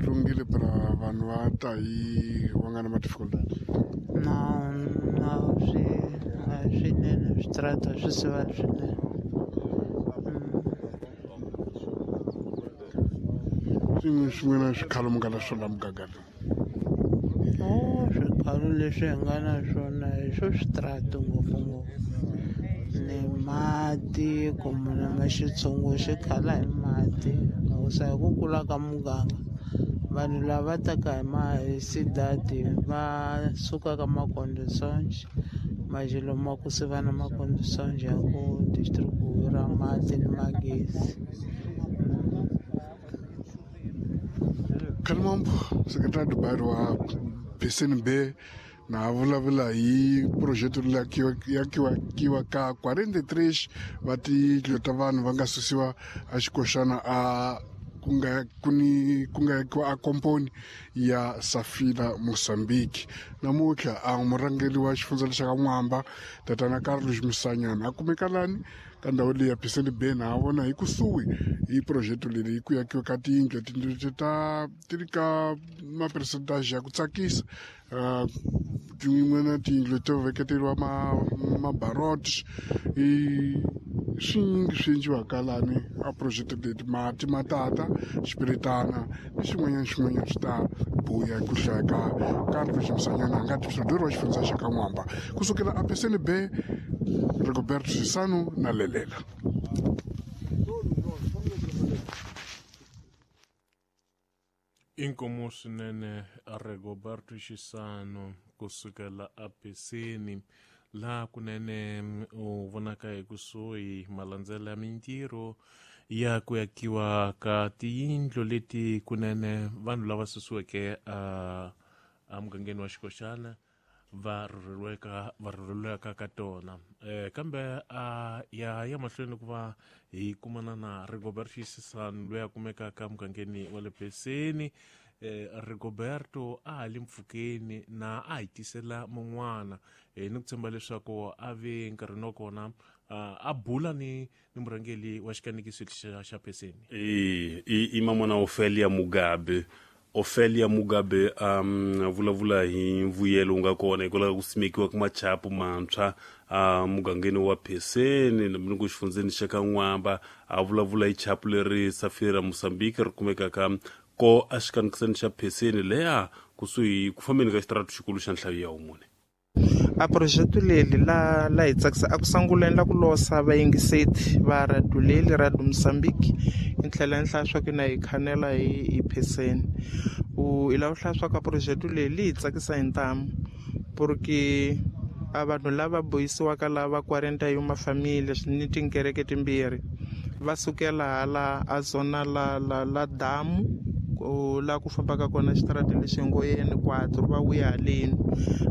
lunghile para vanhu va ta hi va nga na ma-difficultad? Não, não, swinene switarata swi siva swinene. Swin'we swin'wana swikhalo mi nga na swona muganga lowu? No, swikhalo leswi hi nga na swona hi swo switarata ngopfungopfu ni mati, ku munhu ma xitshungu xi khala hi mati hikusa hi ku kula ka muganga vanhu lava taka hi hi sidadi va suka ka makondisonji majelo ma ku siva na makondisonji ya ku distribuira mati ni magezi. Kalimambo, secretary do bairro wa PCNB, na vulavula hi projeto yakiwa ka 43 va tiyindlu ta vanhu va nga susiwa a xikoxana a ku nga yakiwa a komponi ya Safila Mozambique. Namuntlha a murhangeri wa xifundza lexa ka N'wamba, tatana Carlos Musanyana, a kumeka lani ka ndhawu leyi ya PCNB, na vona hi kusuhi hi projeto leyi ku yakiwa ka tiyindlu. Tiyindlu ti ta ti ri ka ma-percentage ya ku tsakisa, tin'wana tiyindlu to veketeriwa mabarot i swinyingi swi endliwaka lani a project leti, mati ma tata xipiritana ni xin'wanyana xin'wanyana swi ta buya ku hlaya ka Carlos Musanyana, a nga distributor wa xifundza xa ka N'wamba. Kusukela a PCNB, Rigoberto Sisano na Lelela. Inkomu swinene Rigoberto Xisano kusukela a Peseni, laha kunene u vonaka hi kusuhi malandzela ya mintirho ya ku yakiwa ka tiyindlu leti kunene vanhu lava susiweke a mugangeni wa Xikoxana va rhurheriweka ka tona. Kambe a ya mahlweni ku va hi kumana na Rigoberto Xisano loyi a kumekaka mugangeni wa le Peseni. Rigoberto a ha le mpfhukeni na a hi tisela mun'wana, ni ku tshemba leswaku a ve nkarhini wa kona a bula ni murhangeri wa xikanekiso xa Peseni. I mamona Ofelia Mugabe. Ofelia Mugabe a vulavula hi mbuyelo wu nga kona hikwalaho ka ku simekiwa ka machapu mantshwa a mugangeni wa Peseni ni ku xifundzeni xa ka N'wamba. A vulavula hi chapu leri Safira Mozambique ri kumekaka ko a xikanekiseni xa Peseni leya kusuhi ku fambeni ka xitarata xikulu xa nhlayo ya wumune. A projeto leli la hi tsakisa a ku sunguleni la ku losa vayingiseti va radio leli Radio Mozambique hi tlhela ni hlaya swa ku na hi khanela hi Peseni. U hi lava ku hlaya swa ku a projeto leli hi tsakisa hi ntamu porque a vanhu lava bohisiwaka lava 41 mafamili ni tinkereke timbirhi va sukela hala a zona la la la damu la ku fambaka kona xitarata lexi ngo yeni 4 va vuya haleni.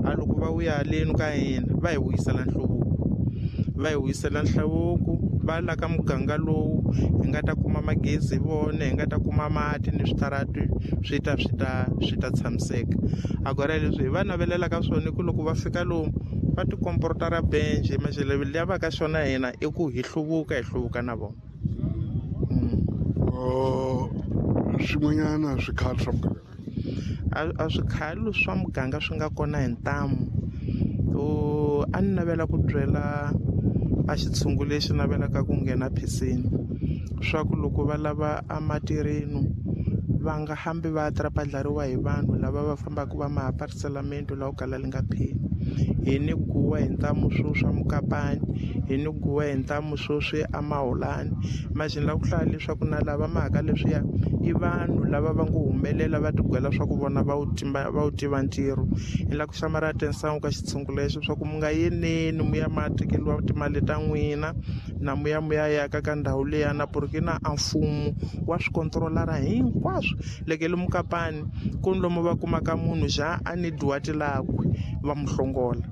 A loko va vuya haleni ka hina va hi vuyisela nhluvuko, va hi vuyisela nhluvuko va la ka muganga lowu hi nga ta kuma magezi hi vona, hi nga ta kuma mati ni switarati swi ta swi ta swi ta tshamiseka. Agora leswi hi va navelelaka swona i ku loko va fika lomu va tikomporta ra benje maxele liya va ka xona hina i ku hi hluvuka, hi hluvuka na vona. Swin'wanyana swikhalo swa muganga? A swikhalo swa muganga swi nga kona hi ntamu. A ni navela ku byela a xitshungu lexi navelaka ku nghena Peseni swa ku loko va lava a matirhenu va nga hambi va trapadlariwa hi vanhu lava va fambaka va maapariselamento lawa kala li nga pheli. Hi ni guwa hi ntamu swo swa Mukapani, hi ni guwa hi ntamu swo swi amahulani. Imagine la ku hlaya leswaku na lava mhaka leswiya i vanhu lava va ngo humelela va tigwela swa ku vona va wu tiva ntirho. Hi la ku xamara atenção ka xitshungu lexo swa ku mi nga yeneni mu ya ma tekeriwa timali ta n'wina na muya muya yaka ka ndhawu leyana porque na a mfumo wa swi controlara hinkwaswo. Lekele Mukapani ku ni lomu va kumaka munhu ja a ni dyiwa tilakwe va mu hlongola,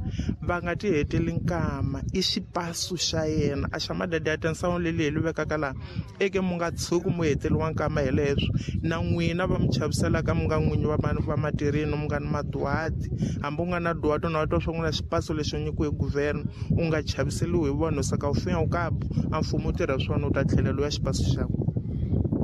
va nga ti heteli nkama i xipasu xa yena. A xa madadi ya atenção leli hi li vekaka laha eke mu nga tshuki mu heteriwa nkama hi leswo na n'wina va mi chaviselaka mi nga n'winyi va matirheni mu nga ni maduwati, hambi u nga na duwati na twa swa n'wina xipasu lexi nyikiwe hi guvernor u nga chaviseliwi hi vanhu saka u finya u kabu a mfumo u tirha swona u ta tlhela loya xipasu xakwe.